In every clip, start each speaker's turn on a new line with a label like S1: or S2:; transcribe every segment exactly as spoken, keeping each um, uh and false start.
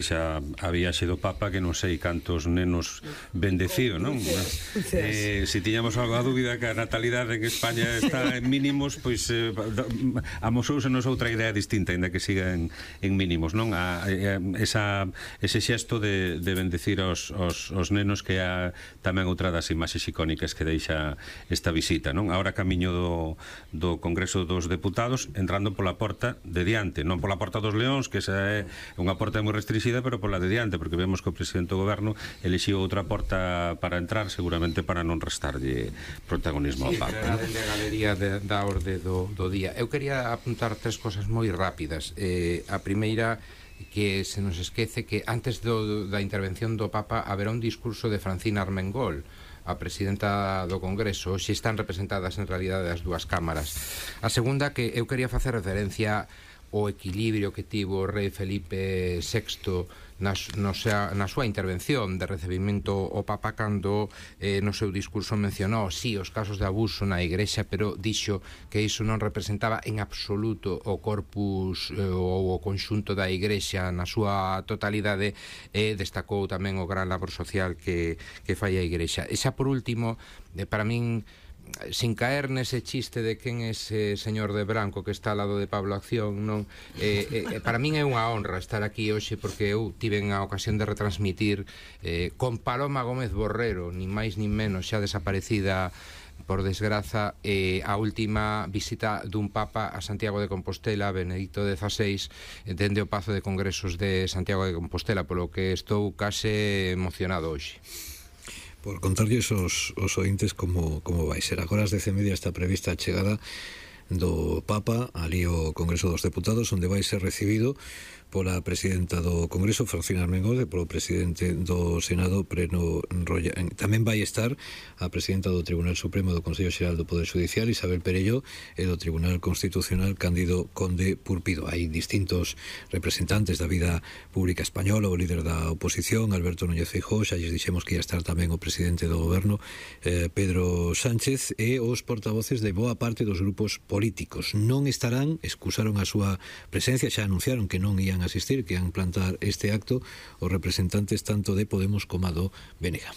S1: xa a viaxe do Papa, que non sei cantos nenos bendecido, non? Eh, se tiñamos algo a dúbida que a natalidade en España está en mínimos, pois eh, amosousenos outra idea distinta, ainda que siga en, en mínimos, non? A, a, esa, ese xesto de, de bendecir aos, aos, aos nenos, que é tamén outra das imaxes icónicas que deixa esta visita, non? Ahora camiño do, do Congreso dos Deputados, entrando pola porta de diante, non pola porta dos Leóns, que esa é unha porta moi restringida, pero pola de diante, porque vemos que o presidente do goberno elixiu outra porta para entrar, seguramente para non restarlle protagonismo ao Papa.
S2: Era dende a galería de, da orde do, do día. Eu quería apuntar tres cosas moi rápidas. Eh, a primeira, que se nos esquece que antes do, da intervención do Papa haberá un discurso de Francina Armengol, a presidenta do Congreso. Hoxe están representadas en realidade as dúas cámaras. A segunda, que eu quería facer referencia o equilibrio que tivo o rei Felipe sexto na, no sea, na súa intervención de recibimento ao Papa, cando eh, no seu discurso mencionou, sí, os casos de abuso na Igrexa, pero dixo que iso non representaba en absoluto o corpus eh, ou o conxunto da Igrexa na súa totalidade, e destacou tamén o gran labor social que, que fai a Igrexa. E xa por último, eh, para min, sin caer nese chiste de quen é ese señor de branco que está ao lado de Pablo Acción, non? Eh, eh, para min é unha honra estar aquí hoxe, porque eu tiven a ocasión de retransmitir eh, con Paloma Gómez Borrero, ni máis ni menos, xa desaparecida por desgraza, eh, a última visita dun Papa a Santiago de Compostela, Benedicto dezasseis, dende o Pazo de Congresos de Santiago de Compostela, polo que estou case emocionado hoxe.
S3: Por contarlles os, os ointes como, como vai ser. Agora ás dez e media está prevista a chegada do Papa ali ao Congreso dos Deputados, onde vai ser recibido pola presidenta do Congreso, Francina Armengol, e polo presidente do Senado, Pleno Roya. Tamén vai estar a presidenta do Tribunal Supremo do Consello Xeral do Poder Judicial, Isabel Perelló, e do Tribunal Constitucional, Cándido Conde Purpido. Hai distintos representantes da vida pública española, o líder da oposición, Alberto Núñez Feijóo, xa lles dixemos que ia estar tamén o presidente do goberno, eh, Pedro Sánchez, e os portavoces de boa parte dos grupos políticos. Non estarán, excusaron a súa presencia, xa anunciaron que non ían asistir, que han plantar este acto os representantes tanto de Podemos como do B N G.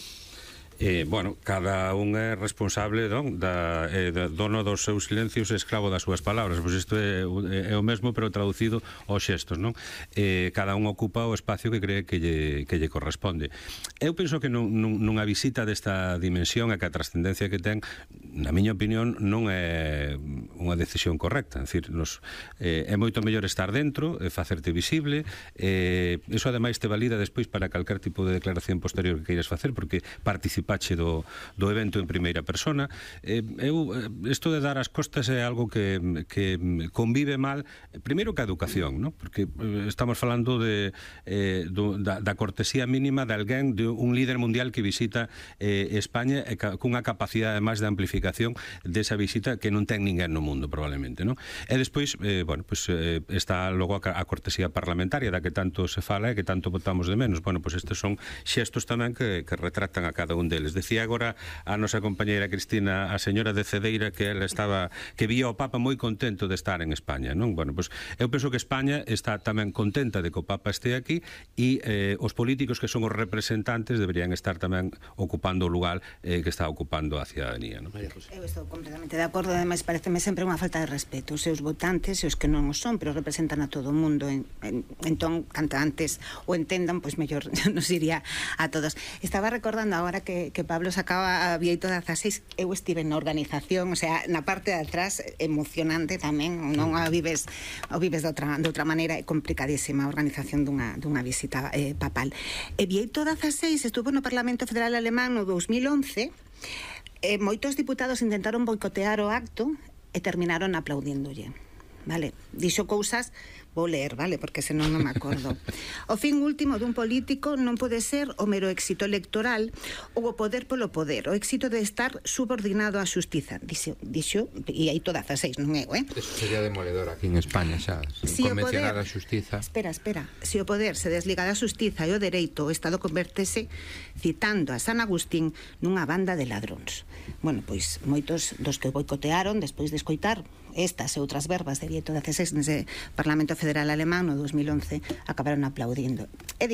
S1: Eh, bueno, cada un é responsable, non? Da, eh, da, dono dos seus silencios e esclavo das súas palabras. Pois isto é, é o mesmo, pero traducido aos xestos, non? Eh, cada un ocupa o espacio que cree que lle, que lle corresponde. Eu penso que non, non, nunha visita desta dimensión, e que a trascendencia que ten, na miña opinión, non é unha decisión correcta. É dicir, nos, eh, é moito mellor estar dentro, e facerte visible, eh, eso ademais te valida despois para calquer tipo de declaración posterior que queiras facer, porque participache do, do evento en primeira persona. Eh, eu, isto de dar as costas é algo que, que convive mal, primeiro que a educación, ¿no? Porque eh, estamos falando de, eh, do, da, da cortesía mínima de alguén, de un líder mundial que visita eh, España, e ca, cunha capacidade máis de amplificación desa visita que non ten ninguén no mundo, probablemente, ¿no? E despois, eh, bueno, pues, eh, está logo a, a cortesía parlamentaria da que tanto se fala e que tanto votamos de menos. Bueno, pues estes son xestos tamén que, que retratan a cada un deles. Decía agora a nosa compañeira Cristina, a señora de Cedeira, que ela estaba, que vía o Papa moi contento de estar en España, non? Bueno, pues eu penso que España está tamén contenta de que o Papa este aquí, e eh, os políticos que son os representantes deberían estar tamén ocupando o lugar eh, que está ocupando a cidadanía, non?
S4: Eu estou completamente de acordo, además pareceme sempre unha falta de respeto. Os seus votantes e os que non o son, pero representan a todo o mundo, en, en, entón, canto antes o entendan, pois mellor nos iría a todos. Estaba recordando agora que, que Pablo sacaba a Bieito dezasseis, eu estive na organización, o sea, na parte de atrás, emocionante tamén, non a vives, o vives de outra, de outra maneira, é complicadísima a organización dunha, dunha visita eh, papal. E Bieito dezasseis estuvo no Parlamento Federal Alemán no dos mil once, e moitos diputados intentaron boicotear o acto e terminaron aplaudiéndolle. Vale, dixo cousas, vou ler, vale, porque senón non me acordo. O fin último dun político non pode ser o mero éxito electoral ou o poder polo poder, o éxito de estar subordinado á xustiza. Dixo, dixo e aí todas as seis, non é, eh?
S2: Eso sería demoledor aquí en España, xa,
S4: si
S2: convencionar a xustiza.
S4: Espera, espera, se o poder se desliga da xustiza e o dereito, o Estado convertese, citando a San Agustín, nunha banda de ladróns. Bueno, pois moitos dos que boicotearon despois de escoitar estas e outras verbas de Bieito dezasseis nese Parlamento Federal Alemán no dos mil once acabaron aplaudindo. É dicir,